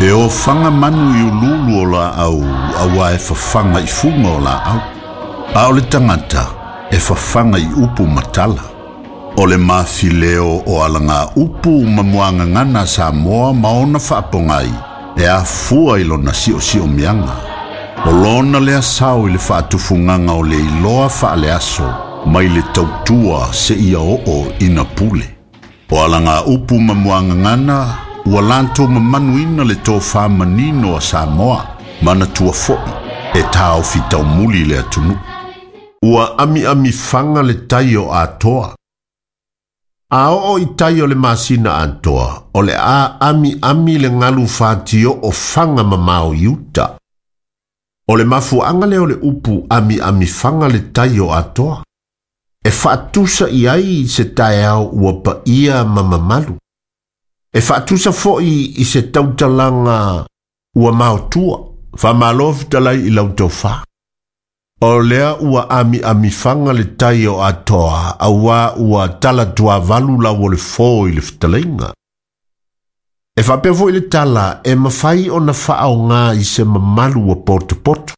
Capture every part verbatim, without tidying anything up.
E ofaga manu i ululu o laau auā e fafaga i fuga o laau. A o le tagata e fafaga i upu ma tala. O le mafileo o alaga upu ma muagagana Samoa ma ona faapogai e afua i lona siosiomiaga. O lona lea sao i le faatufugaga o le iloa faaleaso mai le tautua seia oo ina pule. O alaga upu ma muagagana ua latou mamanuina le tofā manino a Samoa manatua foʻi e taofi taumuli le atunuu. Ua amiamifaga le tai o Atoa. A oo i tai o le masina atoa, o le a amiami le galu fatioo faga mamao i uta. O le mafuaaga lea o le upu amiamifaga le tai o Atoa. E faatusa i ai se taeao ua paia ma mamalu. E faatusa foʻi i se tautalaga ua maotua, faamalo fetalai i lau tofā. O lea ua amiamifaga le tai o Atoa, auā ua talatuavalu lau o le fō i le fetalaiga. E faapea foʻi le tala e mafai ona faaogā i se mamalu ua potopoto.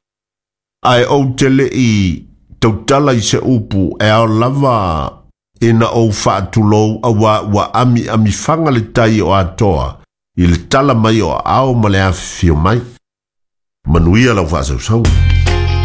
Ae ou te leʻi tautala i se upu e ao lava ina ou faatulou auā ua amiamifaga le tai o Atoa i le tala mai o aao ma le afifio mai. Manuia lau faasausauga.